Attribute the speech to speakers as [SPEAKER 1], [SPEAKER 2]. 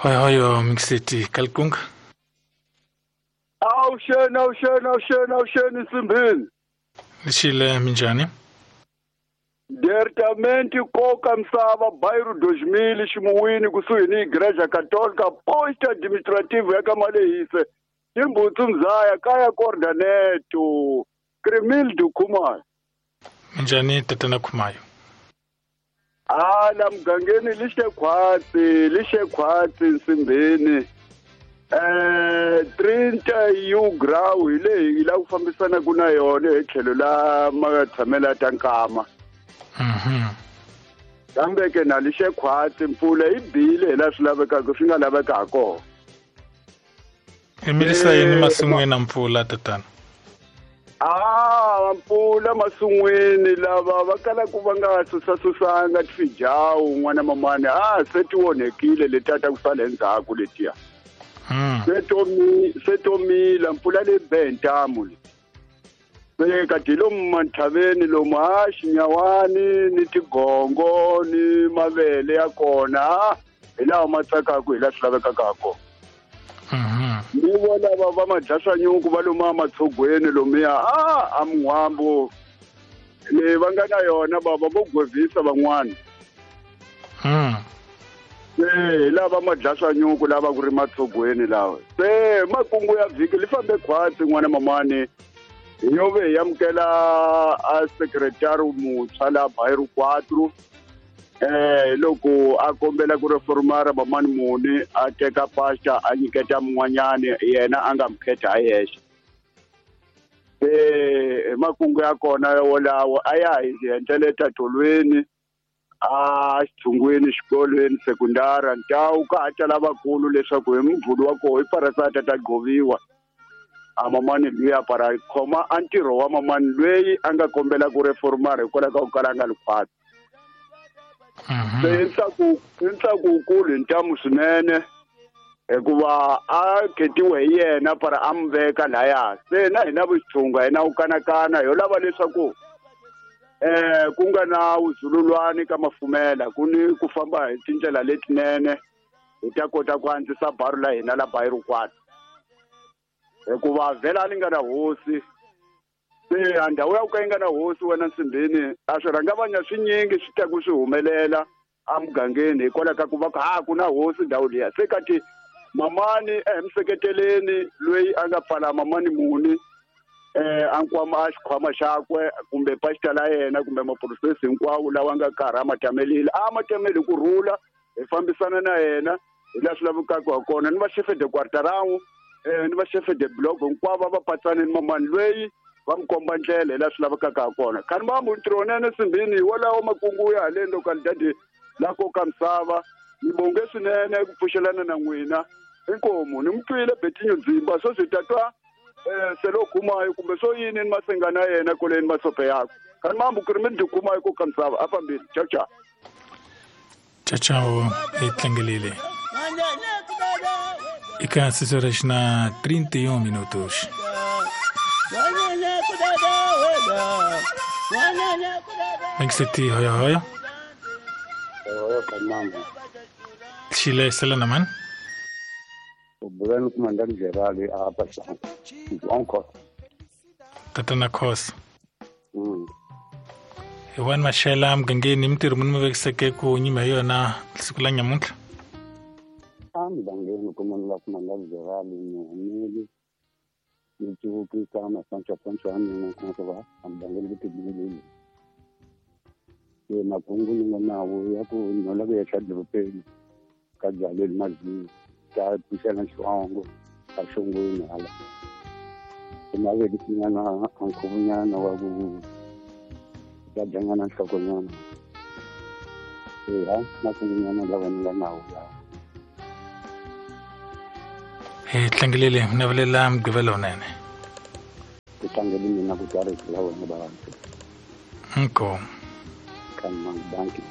[SPEAKER 1] Hoyo hoyo Mixeti Kalkunga.
[SPEAKER 2] Awusheni awusheni awusheni awusheni Nsimbini.
[SPEAKER 1] Lishile minjani?
[SPEAKER 2] Departamento Koka Msava bairro 2000 Ximuwini kusuhi ni Igreja Católica posto administrativo ya Kamalehise Imbutsu Mzaya kaya Cordaneto Cremildo Khumalo.
[SPEAKER 1] Minjani tatana Khumalo?
[SPEAKER 2] Ala mgangeni lishe khwatsi Nsimbini. 30 U grau hi leyi la ku fambisana ku na yona hi tlhelo la matshamela ta nkama. Kambe ke na lixe khwatsi mpfula yi bile hi la swi lavekaka swi nga laveka ha kona.
[SPEAKER 1] I milisa yini masin'wini na mpfula tatana?
[SPEAKER 2] Mpfula masin'wini lava va kalaka va nga susasusanga tifijawu n'wana mamani se ti onhekile letiya ta ku sala endzhaku letiya. Se tomila mpfula leyi be hi ntamu le. Se kati lomu manthaveni lomu xinyawani ni tigongo ni mavele ya kona hi lawa ma tsakaka hi laha swi lavekaka ha kona. Ni vona lava va madlasanyuku va lomu ematshogweni lomuya a min'wambu leyi va nga na yona bava vo gwevisa van'wana. Se hi lava madlasanyuku lava ku ri matshogweni lawa. Se makungu ya vhiki li fambe khwatsi n'wana mamani. Hi yo ve hi amukela a secretary muntshwa la bairro 4 loko a kombela ku reformara mamani muni a teka pastor a nyiketa mun'wanyani yena a nga mukhetha a yexe. Se makungu ya kona wolawo a ya hi endlele tolweni a xitshungwini xikolweni sekundara ntawu ka ha ta lavakulu leswaku hi mubulu wa koho i parasata ta gqoviwa. A mamani luya para khoma a ntirho wa mamani loyi a nga kombela ku reformara hikwalaho ka ku kala a nga li khwatsi. Se i ntsako wukulu hi ntamu swinene hikuva a khetiwe hi yena para a mi veka laya. Se na hina vuxitshunga hina wu kanakana ho lava leswaku ku nga na vuzululwani ka mafumela ku ni ku famba hi tindlela letinene hi ta kota ku antswisa baru la hina la bairro 4. Hikuva vhela a ni nga na hosi. Se a ndhawu ya ku ka yi nga na hosi wena Nsimbini a swi rhangavanya swinyingi swi ta ku swi humelela emugangeni hikwalaho ka ku va ku na hosi ndhawu liya. Se kati mamani emiseketeleni loyi a nga pfala mamani muni a nkwama a xikhwama xakwe kumbe pastor la yena kumbe maprofesi hinkwawo lawa nga karhi a ma tamelile a ma tameli ku rhula hi fambisana na yena hi laha swi lavekaka ha kona ni va chef de quarterawu ni va chef de block hinkwavo va patsane ni mamani loyi va mi komba ndlela hi laha swi lavekaka ha kona. Khani mambu ntirho wunene Nsimbini hi wolawo makungu ya haleni localidade la Koka Misava. Ni bonge swinene ku pfuxelana na n'wina inkomu ni mi twile Betinho Ndzimba swo swi tatwa selo khumayo kumbe swo yini ni masenga na yena koleni masope yakwe. Khani mambu ku ri mi dyi khumayo Koka Misava a fambile. Ciao ciao.
[SPEAKER 1] Ciao ciao hi tlangelile. Eka 6 horas na 31 minutos. Mixeti hoyo hoyo.
[SPEAKER 3] Hoyo kamambo.
[SPEAKER 1] Chile sela man.
[SPEAKER 3] Ubulani kumandani Gerali apa sana. Onko.
[SPEAKER 1] Tatana khos. Iwan mashela mgangeni mtirho munhu vekiseke ku nyima yona siku la nyamuntlha.
[SPEAKER 3] Mgangeni kumandla kumandani Gerali ni ni Sancho Pancho ni kwa mgangeni kutibili. Ke makungu ni nga nawo ya ku nola ku ya xadorobeni ka byaleni mazini ta pfuxela xivongo ka xongweni hala. Ku navelisinyana a nkhuvunyana wa ku ta dyanyana nhlokonyana. Eya makungunyana lawa ni nga nawo lawa.
[SPEAKER 1] Hi tlangelile navelela mugqivela wunene.
[SPEAKER 3] Ku tlangele mina ku twa rito la wena bava.
[SPEAKER 1] Inkomu.
[SPEAKER 3] Banki.